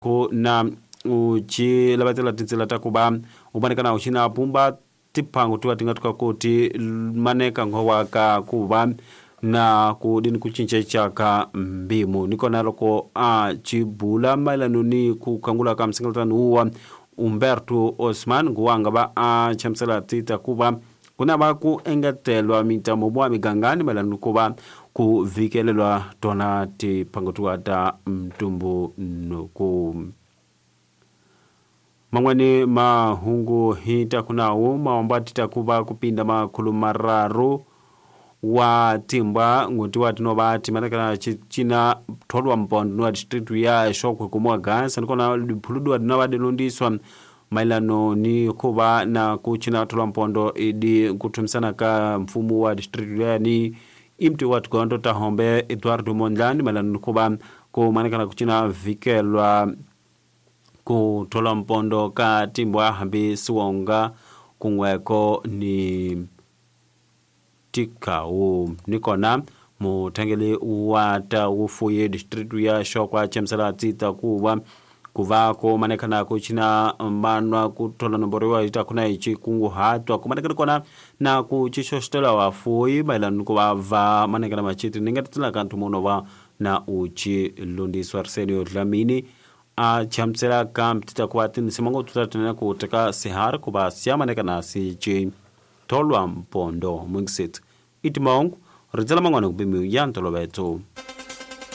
Ku na u ci lavatela tintsila ta ku va u maneka na u ci na pumba tiphango tiwa ti nga tuka ku ti maneka ngowa ka ku va na ku dini ku cinceca ka mbimu. Ni kona loko a ci bula mayelano ni ku khangula ka msingalatani wuwa Umberto Osman nguwa nga va a chamusela tita ku va ku na va ku engetelwa mintamo wa migangani mayelano ni ku va ku vikelelwa tona tiphango tiwa ta mtumbuluko. Man'wani mahungu hi ta ku nawu maomba ti ta ku va ku pinda makhulu mararu wa timbwa n'hweti wa tinova timanekana cina tholwa mpondo wa district ya Xokwe kumuwa gansa nikona diphuludiwa dinova dilundiswa mayelano ni ku va na ku cina tholwa mpondo idi kuthumisana ka mfumo wa district ya ni imti wa tigondo ta hombe Eduardo Mondlane mayelano ni ku va ku manekana ku cina vikelwa ku thola mpondo ka timbwa hambi siwonga kun'weko ni tikawu. Nikona muthangeli wa ta wufuyi district ya Xokwa chamusela tsita ku va ku va ku manekana ku cina manwa ku thola nomboro wa ita kuna ichi kunguhatwa ku manekana kona na ku cixoxitela vafuyi mayelana ni ku va va manekana machiti ni nga titsela ka nthumono va na u ci lundiswa Arsenio Dlamini a chamusela ka mtita ku va tinsimu ngopfu ta tinene ku teka sihari ku va siya manekana si ci tholwa mpondo mwingisetsi i timahungu rindzela man'wana ku pimiwa ya ntoloveto.